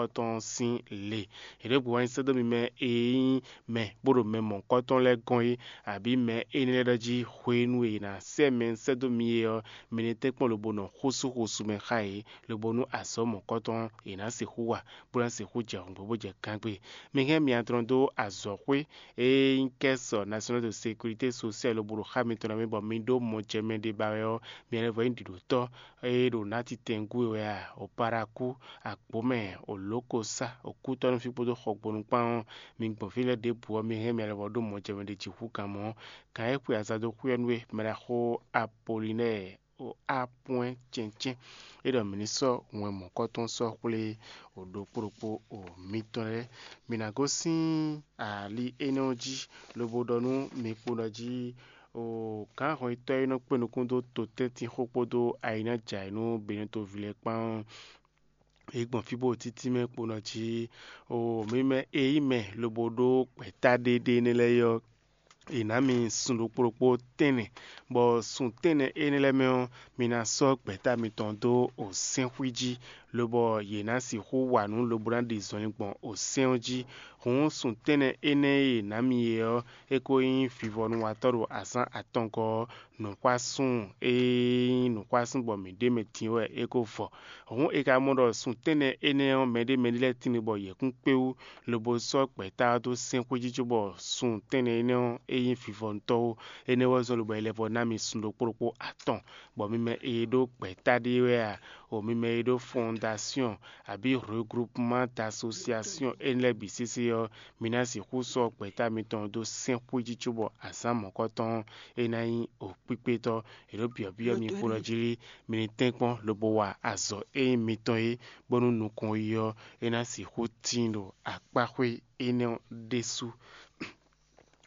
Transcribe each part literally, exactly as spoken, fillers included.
tɔn sín le. È ɖǒ gbe wá nyi sɛ́ dó mi mɛ e nyí mɛ bó ɖo mɛ mɔ̌hunkɔtɔn lɛ́ɛ gɔ́n é, abǐ mɛ énɛ́ lɛ́ɛ ɖɔ jí hwenu e è nǎ sɛ́ mɛ sɛ́ dó mi é ɔ́, mi ní tɛ́nkpɔ́n lobo nɔ xósú xósú mɛ xá yě, lobo nú azɔ̌ mɔ̌hunkɔtɔn è nǎ sixú wa, bó ná sixú jɛ hǔngbó bó jɛ gángbe. Mi hɛn myadrɔn dó azɔ̌xwé e nyí Caisse Nationale de Sécurité Sociale lobo ɖo xá mitɔn ná mɛ bɔ mi ɖó mɔjɛmɛ ɖé ba wɛ ɔ́, mi lɛ́ vɔ nyí ɖiɖǒtɔ́ e ɖo nátitɛngú e wɛ a, o Parakú, Agbǒmɛ, o Lǒkosá, o Kútɔ́nú fí kpódó Xɔgbonu kpán ɔ́, mi gbɔn fí lɛ́ɛ ɖěbǔ ɔ́, mi hɛn mɛ lɛ́ vɔ ɖó mɔjɛmɛ ɖé jǐxú kan mɔ̌. Kan e xwe aza dó xwíyɔ́ nú we, mɛ ɖaxó Apolinɛ́ɛ o Apwɛ́n cɛ́ncɛ́n, é ɖɔ mǐ ní sɔ́ wɛn mɔ̌kɔ́tɔn sɔ́ xwlé o ɖokpó ɖokpó o mitɔn lɛ́ɛ. Mǐ ná gosín ali énɛ́ ɔ́ jí, lobo ɖɔ nú mi kpo ɖɔ jí o gǎn hɔnyitɔ́ e nɔ kpé nukún dó totɛ́ntinxó kpódó ayǐnájǎyínú Benɛtoví lɛ́ɛ kpán ɔ́, yě gbɔn fí bó ɖo títí mɛ kpo nɔ jí o mi mɛ e nyí mɛ lobo ɖó gbɛ̌ta ɖéɖé énɛ́ lɛ́ɛ ɔ́, è nǎ mi sun ɖokpó ɖokpó tɛ́nnɛ, bɔ sun tɛ́nnɛ énɛ́ lɛ́ɛ mɛ ɔ́, mi ná sɔ́ gbɛ̌ta mitɔn dó o sɛ́nxwí jí, lobɔ yě ná sixú wa nǔ lobo ná ɖi zɔnlin gbɔn o sɛ́n ɔ́ jí. Hǔn sun tɛ́nnɛ énɛ́ e è nǎ mi é ɔ́, é ko nyí vivɔnúwatɔ́ ɖo azǎn atɔngɔ́ ɔ́, nǔxwásún e nyí nǔxwásún bɔ mǐ ɖ'é mɛ din wɛ é ko vɔ. Hǔn è ka mɔ ɖɔ sun tɛ́nnɛ énɛ́ ɔ́, mɛɖé mɛɖé lɛ́ɛ tíin bɔ yě kún kpé wú, lobo sɔ́ gbɛ̌ta ɔ́ dó sɛ́n xwé jí cóbɔ sun tɛ́nnɛ énɛ́ ɔ́, é nyí vivɔntɔ́ ó. Énɛ́ wɛ zɔ́n lobo è lɛ́ vɔ ná mi sun ɖokpó ɖokpó atɔn, bɔ mi mɛ e ɖó gbɛ̌ta ɖé wɛ a, o mi mɛ e ɖó fɔndasyɔn abǐ regroupement d'association énɛ́ lɛ́ɛ bǐ sésé ɔ́, mi ná sixú sɔ́ gbɛ̌ta mitɔn dó sɛ́n xwé jí cóbɔ azǎn mɔ̌kɔtɔn ɔ́, é ná nyí o kpíkpétɔ́. È ɖǒ byɔ̌byɔ́ mi kpo ɖɔ jí mi ní tɛ́nkpɔ́n lobo wa azɔ̌ e nyí mitɔn é, bónú nukɔn yi ɔ́, é ná sixú tíin ɖo akpáxwé énɛ́ ɔ́ ɖésú.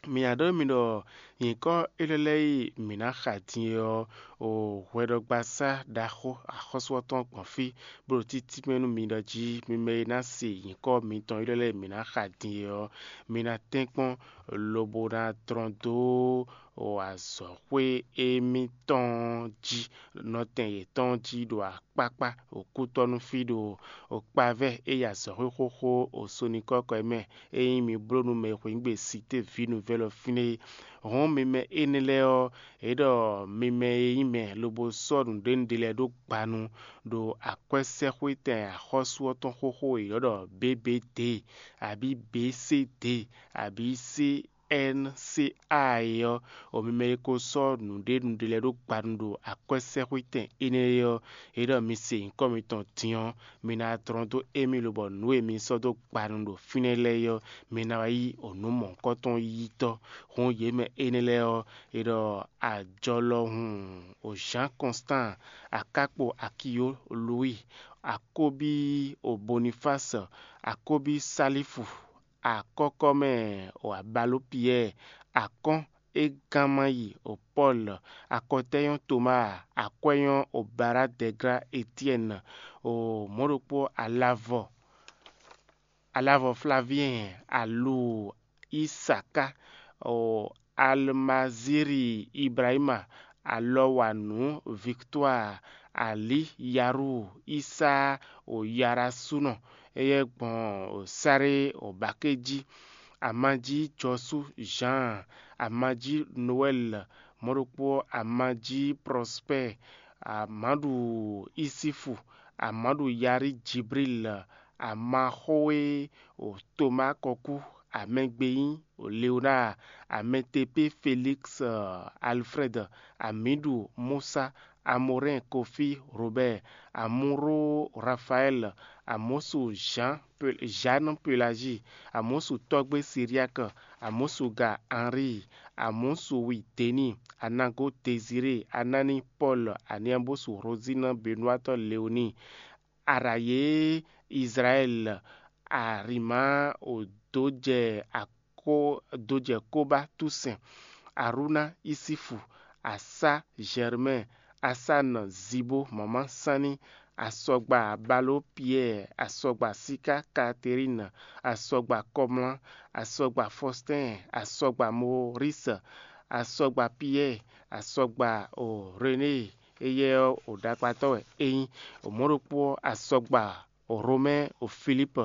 Mǐ ná ɖɔ nú mi ɖɔ nyǐkɔ élɔ́ lɛ́ɛ e mǐ ná xa din é ɔ́, o hwɛɖɔgbasá ɖaxó axɔ́sú ɔ́ tɔn gbɔn fí, bó ɖo títí mɛ nú mi ɖɔ jí mi mɛ e ná se nyǐkɔ mitɔn élɔ́ lɛ́ɛ e mǐ ná xa din é ɔ́, mi ná tɛ́nkpɔ́n lobo ná dlɔ́n dó o azɔ̌xwé émítɔn jí, nɔtɛn yětɔn jí ɖo akpákpá, o kútɔ́nú fí ɖo o kpavɛ́ e yi azɔ̌xwé xóxó o sonikɔ́kɔ e mɛ, ényí mi bló nú mɛ e xweyǐgbe Sité Vǐ Nuvɛ́l ɔ́ fínɛ́ é. Hɔ̌n mi mɛ énɛ́ lɛ́ɛ ɔ́, é ɖɔ mi mɛ e nyí mɛ lobo sɔ́ nǔɖénúɖé lɛ́ɛ ɖó gbanu ɖo akwɛ́sɛ́xwétɛn axɔ́sú ɔ́ tɔn xóxó e è ylɔ́ ɖɔ B B D, abǐ B C D, abǐ C N C A é ɔ́, o mi mɛ e ko sɔ́ nǔɖénúɖé lɛ́ɛ ɖó gbanu ɖo akwɛ́sɛ́xwétɛn énɛ́ é ɔ́, é ɖɔ mi se nyǐkɔ mitɔn din ɔ́, mi ná dlɔ́n dó émí lobɔ nǔ e mi sɔ́ dó gbanu ɖo fínɛ́ lɛ́ɛ é ɔ́, mi ná wá yí o nǔ mɔ̌hunkɔtɔn yítɔ́. Hǔn yě mɛ énɛ́ lɛ́ɛ ɔ́, è ɖɔ ajɔlɔhun o Jǎn Kɔnstan, akákpo Akiyó Luwíi, akóbí o Bonifási, akóbí Salífu, akɔ́kɔ́mɛ o Abaló Piyɛ́ɛ, akɔ́n e gán má yi o Pɔ́lu, akɔtɛ́nyɔ́ Tomáa, akwɛ́nyɔ́ o Bará Dɛglá Etyɛ́ni, o mɔ̌ ɖokpó alavɔ alavɔ Flavyɛn, alu Isaká, o Almaziri Ibrahima, alɔwanǔ Victoire, Ali Yaru, Isa o Yarasúnɔ, éyɛ́ gbɔn o Saré o Bakéjí, Amájí Jɔsú Jean, Amájí Noɛl, mɔ̌ ɖokpó Amájí Prospère, Amáɖu Isifu, Amáɖu Yarí Jibril, Amaxóé o Toma Kɔkú, Amɛgbeyín o Léonard, Amɛtepé Félix, Alfred, Amíɖu Musa, Amorɛn Kofi Robert, Amuro Rafael, Amosu Jean Jeanne Pelagie, Amosu Tɔgbe Syriaque, Amosu Ga Henri, Amosu Wi Denis, Anago Désiré, Anani Paul, Aniabosu Rosine Benoît Léonie, Araye Israël, Arima Odojɛ Ako Dojɛ Koba Toussaint, Aruna Isifu, Asa Germain, Asan Zibo Mama Sanni, Asɔgba Balo Pierre, Asɔgba Sika Catherine, Asɔgba Kɔmlá, Asɔgba Faustin, Asɔgba Maurice, Asɔgba Pierre, Asɔgba o René, éyɛ́ ɔ́ o ɖakpatɔ́ wɛ é nyí, o mɔ̌ ɖokpó ɔ́ Asɔgba Romɛ́ o Filípu.